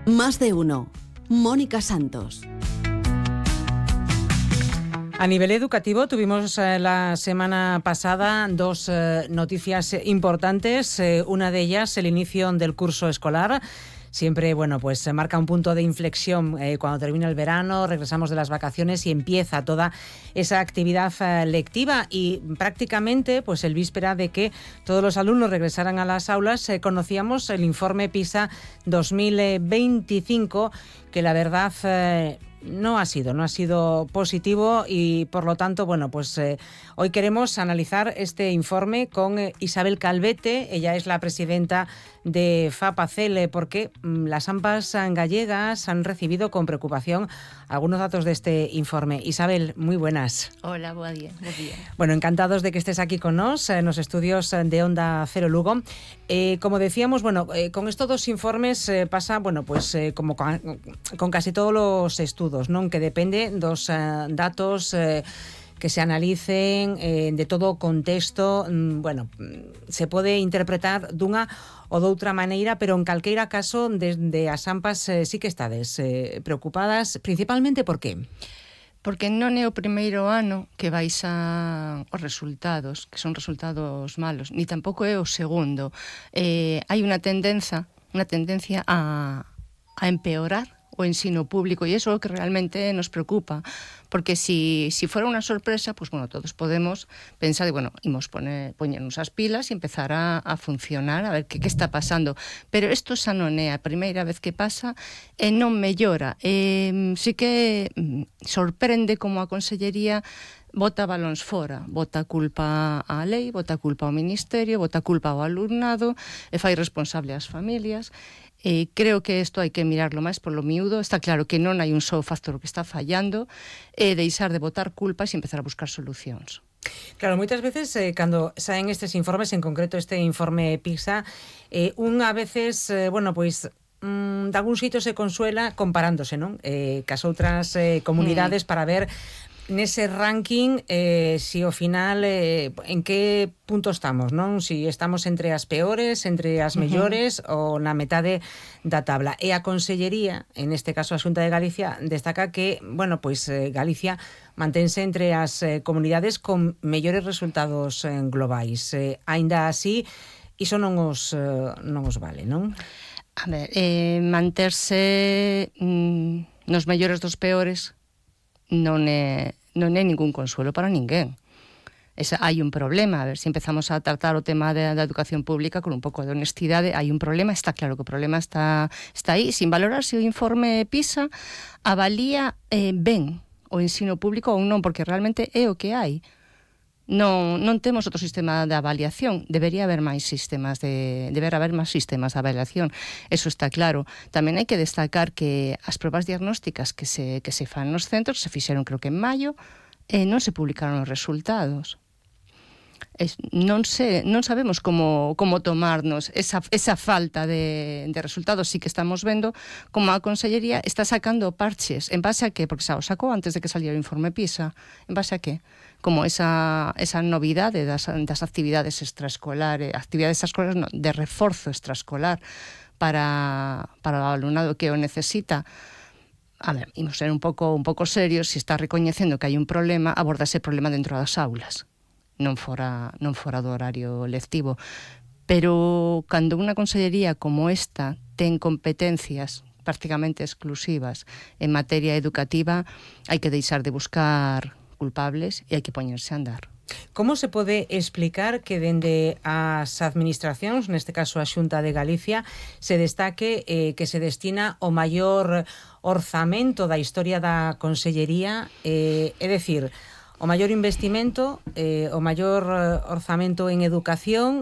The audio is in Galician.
Más de uno. Mónica Santos. A nivel educativo tuvimos la semana pasada dos noticias importantes. Una de ellas, el inicio del curso escolar. Siempre, pues se marca un punto de inflexión cuando termina el verano, regresamos de las vacaciones y empieza toda esa actividad lectiva. Y prácticamente, pues el víspera de que todos los alumnos regresaran a las aulas, conocíamos el informe PISA 2025, que la verdad no ha sido positivo y por lo tanto, hoy queremos analizar este informe con Isabel Calvete. Ella es la presidenta de FAPACEL, porque las AMPAs gallegas han recibido con preocupación algunos datos de este informe. Isabel, muy buenas. Hola, buen día. Bueno, encantados de que estés aquí con nos en los estudios de Onda Cero Lugo. Como decíamos, con estos dos informes pasa, como con casi todos los estudos, ¿no? Que depende dos datos que se analicen de todo contexto. Se pode interpretar dunha ou doutra maneira, pero en calqueira caso, desde as AMPAs sí que estades preocupadas, principalmente por qué? Porque non é o primeiro ano que baixan os resultados, que son resultados malos, ni tampouco é o segundo. Hai unha tendencia a empeorar o ensino público, e iso é o que realmente nos preocupa, porque si fuera unha sorpresa, todos podemos pensar, imos poñernos as pilas e empezar a funcionar, a ver que está pasando, pero isto xa non é a primeira vez que pasa e non mellora. Sí que sorprende como a Consellería bota balóns fora, bota culpa á lei, bota culpa ao Ministerio, bota culpa ao alumnado e fai responsable ás familias. Creo que isto hai que mirarlo máis polo miúdo. Está claro que non hai un só factor que está fallando, deixar de botar culpas e empezar a buscar solucións. Claro, moitas veces cando saen estes informes, en concreto este informe PISA, un a veces, de algún xeito se consuela comparándose, non? Cas outras comunidades para ver nese ranking si ao final en que punto estamos, non? Si estamos entre as peores, entre as mellores ou na metade da tabla. E a Consellería, en este caso a Xunta de Galicia, destaca que, Galicia mantense entre as comunidades con mellores resultados globais. Aínda así, iso non os vale, non? A ver, manterse nos mellores dos peores non é ningún consuelo para ninguén. Hai un problema. A ver, se empezamos a tratar o tema da educación pública con un pouco de honestidade, hai un problema, está claro que o problema está aí, sin valorar se o informe PISA avalía ben o ensino público ou non, porque realmente é o que hai. Non temos outro sistema de avaliación. Debería haber máis sistemas de avaliación. Eso está claro. Tamén hai que destacar que as probas diagnósticas que se fan nos centros se fixeron, creo que en maio, e non se publicaron os resultados. Non sabemos como tomarnos esa falta de resultados. Sí que estamos vendo como a Consellería está sacando parches. En base a qué? Porque o sacou antes de que saliera o informe PISA. En base a qué? Como esa novidade das actividades extraescolares, de reforzo extraescolar para o alumnado que o necesita. A ver, imos ser un pouco serios. Se está recoñecendo que hai un problema, aborda ese problema dentro das aulas, non fora do horario lectivo. Pero cando unha consellería como esta ten competencias prácticamente exclusivas en materia educativa, hai que deixar de buscar culpables e hai que poñerse a andar. Como se pode explicar que dende as administracións, neste caso a Xunta de Galicia, se destaque que se destina o maior orzamento da historia da Consellería, é dicir, o maior investimento, o maior orzamento en educación,